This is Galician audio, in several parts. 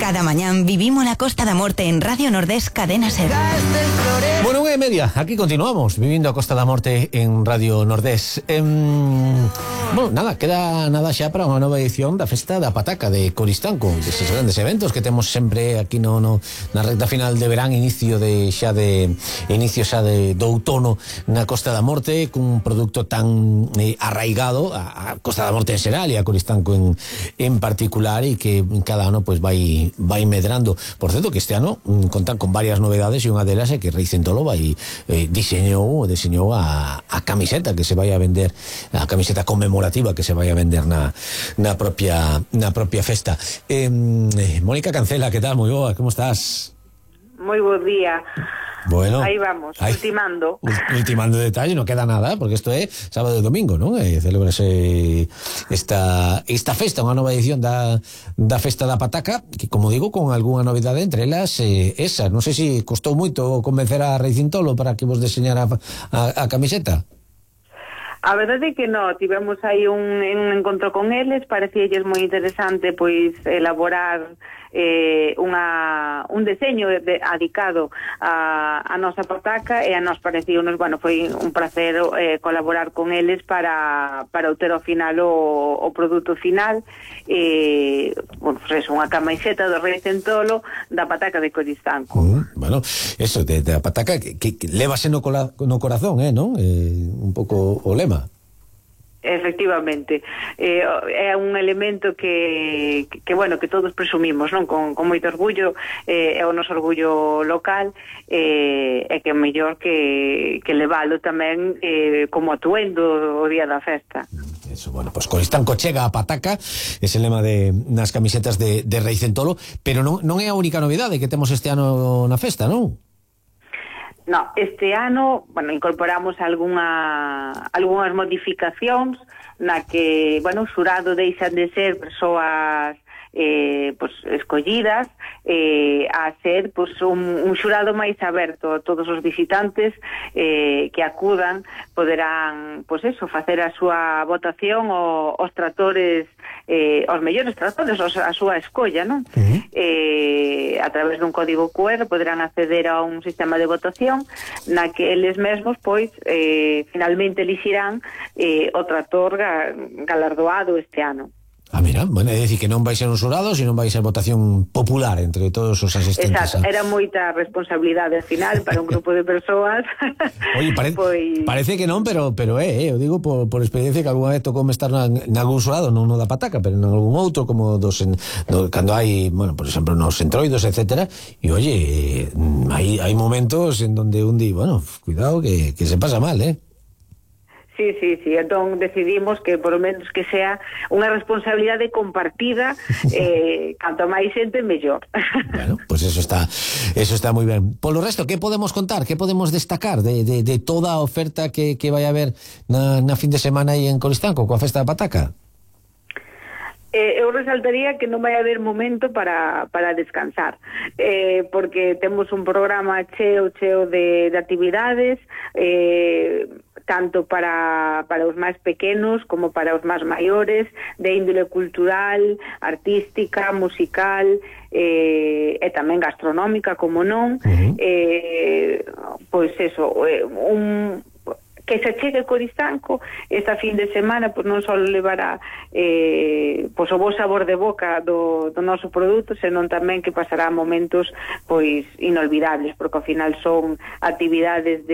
Cada mañán vivimos la Costa da Morte en Radio Nordés Cadena Ser. Bueno, 1:30, aquí continuamos vivindo a Costa da Morte en Radio Nordés. Bueno, nada, queda nada xa para unha nova edición da Festa da Pataca de Coristanco, deses grandes eventos que temos sempre aquí na recta final de verán, inicio xa do outono na Costa da Morte, cun produto tan arraigado a Costa da Morte en xeral e a Coristanco en particular, e que cada ano pues vai medrando. Por certo, que este ano contan con varias novedades, e unha delas é que Rei Centolo diseñou a camiseta que se vai a vender, a camiseta conmemorativa que se vai a vender na propia festa. Mónica Cancela, que tal? Moi boa, como estás? Moi bo día. Bueno, aí vamos, ultimando detalle, non queda nada, porque isto é sábado e domingo, non? Celebrase esta festa, unha nova edición da Festa da Pataca, que, como digo, con algunha novidade, entre elas esa. Non sei se costou moito convencer a Rei Centolo para que vos deseñara a camiseta. A verdade é que non, tivemos aí un encontro con eles, parecíalles moi interesante pois elaborar un deseño adicado a nosa pataca, e a nos parecíunos, bueno, foi un placer colaborar con eles para obter ao final o produto final. Bueno, pues é unha camiseta do Rei Centolo da Pataca de Coristanco. Bueno, eso, da pataca que levase no corazón, non? Un pouco o lema. Efectivamente, é un elemento que bueno, que todos presumimos, non? Con moito orgullo, é o noso orgullo local, e que é mellor que levalo tamén como atuendo o día da festa. Eso, bueno, pues Coristanco chega a Pataca, ese lema nas camisetas de Rei Centolo, pero non é a única novidade que temos este ano na festa, non? No, este ano, bueno, incorporamos algunhas modificacións na que, bueno, o xurado deixan de ser persoas pues escollidas a ser pues un xurado máis aberto a todos os visitantes que acudan, poderán pues eso, facer a súa votación os tratores, os mellores tratores, a súa escolla, non? A través dun código QR poderán acceder a un sistema de votación na que eles mesmos pois finalmente elixirán o trator galardoado este ano. Mira, bueno, é dicir que non vai ser un xurado, sino vai ser votación popular entre todos os asistentes. Exacto, era moita responsabilidade al final para un grupo de persoas. Oye, parece que non, pero eu digo por experiencia que algunha vez tocou estar nalgún xurado, non no da Pataca, pero en algún outro, como cando hai, bueno, por exemplo, nos entroidos, etcétera, e oye, hai momentos en donde un di, bueno, cuidado que se pasa mal, Sí, entón decidimos que por lo menos que sea unha responsabilidade compartida, canto máis xente mellor. Bueno, pues eso está moi ben. Polo resto, que podemos contar, que podemos destacar de toda a oferta que vai haber na fin de semana aí en Coristanco coa Festa da Pataca? Eu resaltaría que non vai haber momento para descansar, porque temos un programa cheo de actividades, tanto para os máis pequenos como para os máis maiores, de índole cultural, artística, musical, e tamén gastronómica, como non. Pois eso, que se chegue Coristanco esta fin de semana, pois non só levará pois o bo sabor de boca do noso produto, senón tamén que pasará momentos pois inolvidables, porque ao final son actividades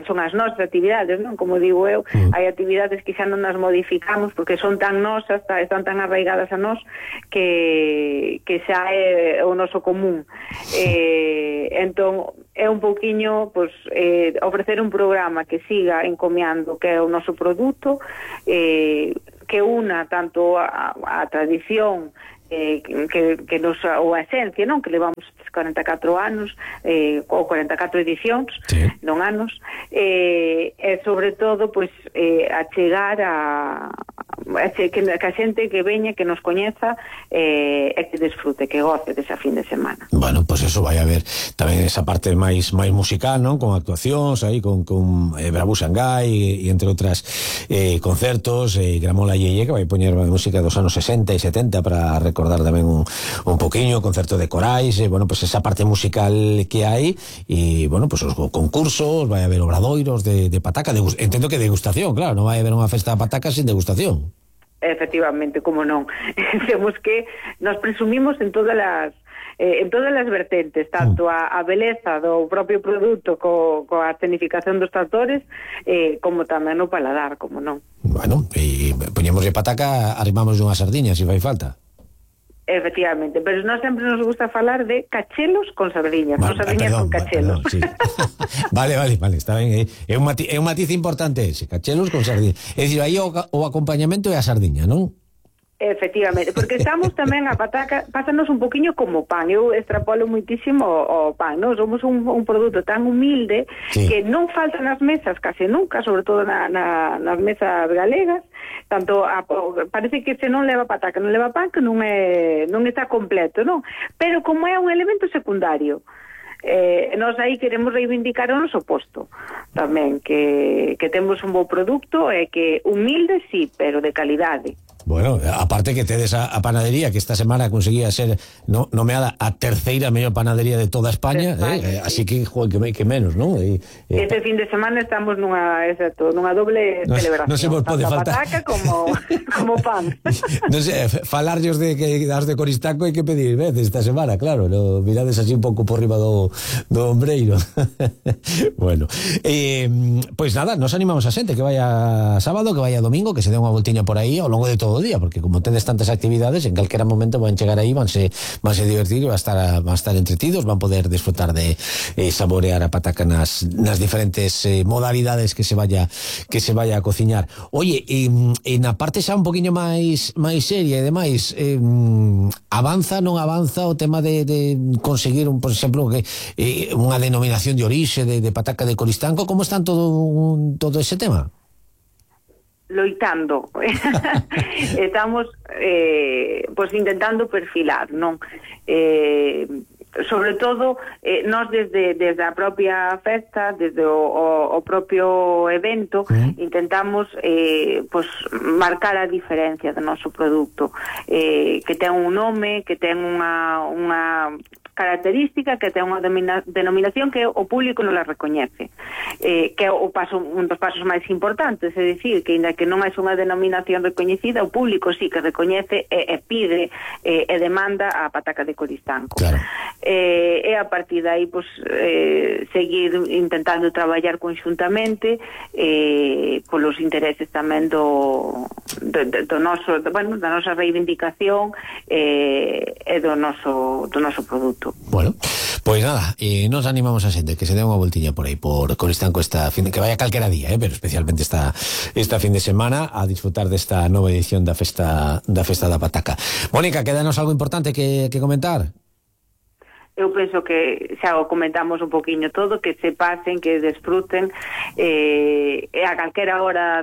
son as nosas actividades, non? Como digo eu, hai actividades que xa non nas modificamos porque son tan nosas, están tan arraigadas a nós que xa é o noso común. Entón é un pouquiño pois ofrecer un programa que siga encomiando que é o noso produto, que una tanto a tradición que nos, ou a esencia, non? Que levamos 44 anos ou 44 edicións, sí, non anos, e sobre todo pois a chegar que a xente que veña, que nos coñeza e que desfrute, que goce desa fin de semana. Bueno, pois eso vai haber tamén esa parte máis musical, non? Con actuacións aí con Bravú Xangai e entre outras concertos, Gramola Yeye, que vai poñer música dos anos 60 e 70 para recordar recordar tamén un poquinho o concerto de corais, bueno, pues esa parte musical que hai, e, bueno, pues os concursos, vai haber obradoiros de pataca, entendo que degustación, claro, non vai haber unha festa de pataca sin degustación. Efectivamente, como non. Temos que, nos presumimos en todas as vertentes, tanto a beleza do propio produto coa escenificación dos tractores, como tamén o paladar, como non. Bueno, e poñemos de pataca, arrimamos unha sardiña, se fai falta. Efectivamente, pero nós sempre nos gusta falar de cachelos con sardiñas, non sardiñas con cachelos. Sí. Vale, está ben. É un matiz importante ese, cachelos con sardiñas. É dicir, aí o acompañamento é a sardiña, non? Efectivamente, porque estamos tamén a pataca, pásanos un poquinho como pan. Eu extrapolo muitísimo o pan, non? Somos un produto tan humilde, sí, que non falta nas mesas case nunca, sobre todo nas mesas galegas. Tanto parece que se non leva pataca, non leva pan, que non está completo, non? Pero como é un elemento secundario, nós aí queremos reivindicar o noso posto tamén, que temos un bo produto e que humilde sí, pero de calidade. Bueno, aparte que tedes a panadería que esta semana conseguía ser nomeada a terceira mellor panadería de toda España, sí. Así que, joder, que menos, ¿no? Este fin de semana estamos nunha doble celebración. Non se vos pode faltar. Pataca como pan. Non sei, falarllos de que das de Coristanco hai que pedir veces esta semana, claro, no, mirades así un pouco por riba do ombreiro. Bueno, pois nada, nos animamos a xente que vaya sábado, que vaya domingo, que se dé unha voltiña por aí ao longo de todo o día, porque como tedes tantas actividades, en calquera momento van chegar aí, vanse divertir, van estar entretidos, van poder disfrutar de saborear a pataca nas diferentes modalidades que se vaya a cociñar. Oye, e na parte xa un poquinho máis seria e demais, avanza, non avanza o tema de conseguir, por exemplo, unha denominación de orixe de pataca de Coristanco? Como están todo ese tema? Loitando. Estamos pues intentando perfilar, non? Sobre todo nós desde a propia festa, desde o propio evento, intentamos pues marcar a diferencia do noso produto, que ten un nome, que ten unha característica, que ten unha denominación que o público non la recoñece, que é un dos pasos máis importantes, é dicir, que ainda que non é unha denominación recoñecida, o público sí que recoñece e pide e demanda a pataca de Coristanco. Claro. E a partir de aí pues, seguir intentando traballar conxuntamente polos intereses tamén do noso, bueno, da nosa reivindicación e do noso produto. Bueno, pois nada, nos animamos a xente que se dé unha voltiña por aí por Coristanco que vaya calquera día, pero especialmente esta fin de semana a disfrutar desta nova edición da festa da pataca. Mónica, quédanos algo importante que comentar? Eu penso que xa o comentamos un poquinho todo, que se pasen, que desfruten, e a calquera hora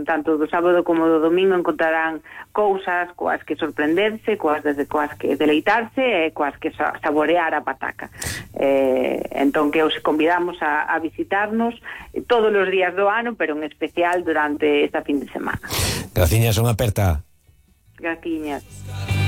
tanto do sábado como do domingo encontrarán cousas coas que sorprenderse, coas que deleitarse e coas que saborear a pataca. Entón que os convidamos a visitarnos todos os días do ano, pero en especial durante esta fin de semana. Graciñas, unha aperta. Graciñas.